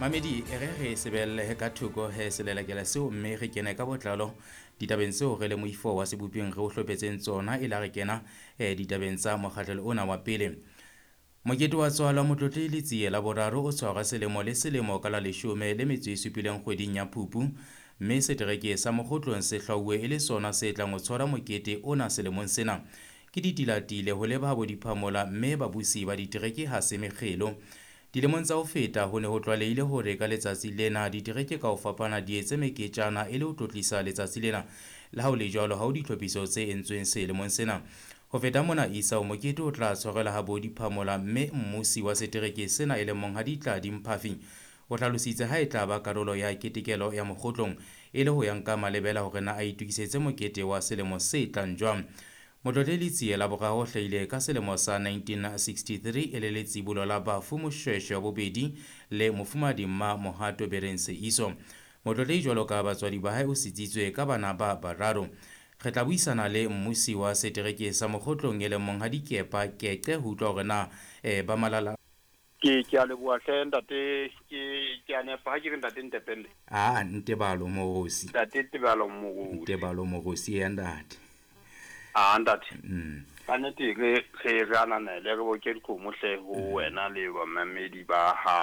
Mamedi, e re re sebellehe ka thoko he selelekela seo, mme re kene ka botlalo ditabeng tseo re le moifo wa seboping re o hlophetseng tsona e la re kena ditabeng tsa mokgahlelo ona wa pele. Mokete wa tswalo Motlotlehi Letsie la boraro o tshwarwa selemo le selemo ka la 17 kgweding ya Phupu, mme setereke sa Mokgotlong se hlwauwe e le sona se tlang ho tshwara mokete ona selemong sena. Ke ditilatile ho leba bo diphamola, mme babusi ba ditereke ha se mekgelo. Dilemong tsa ho feta ho ne ho tlwalehile hore ka letsatsi lena ditereke ka ho fapana di etse meketjana e le ho tlotlisa letsatsi lena. Le ha ho le jwalo, ha ho ditlhophiso tse entsweng selemong sena. Ho feta mona, isao mokete o tla tshwarelwa ha bo diphamola, mme mmusi wa setereke sena e leng Monghadi Tladi Mphafi o hlalositse ha e tla ba karolo ya ketekelo ya Mokgotlong e le ho ya nka malebela hore na a itokisetse mokete wa selemo se tlang jwang. Motlotlehi Letsie la boraro o hlahile ka selemo sa 1963 e le letsibolo la bafu Moshweshwe wa bobedi le mofumahadi Mma Mohato Bereng Seiso. Motlotlehi jwalo ka batswadi ba hae o sitsitswe ka bana ba bararo. Re tla buisana le mmusi wa setereke sa Mokgotlong e leng Monghadi Kepa Keqe ho utlwa hore na ba malala. Ke a leboha hle ntate, ke a nepa ha ke re ntate Ntepele. Ah, Ntebalo Morosi. Ntate Tebalo Morosi. Ntebalo Morosi ya ntate. Ah, ntate. Ka nnete re ananele, re boke dikgomo hle ho wena le bamamedi ba hao.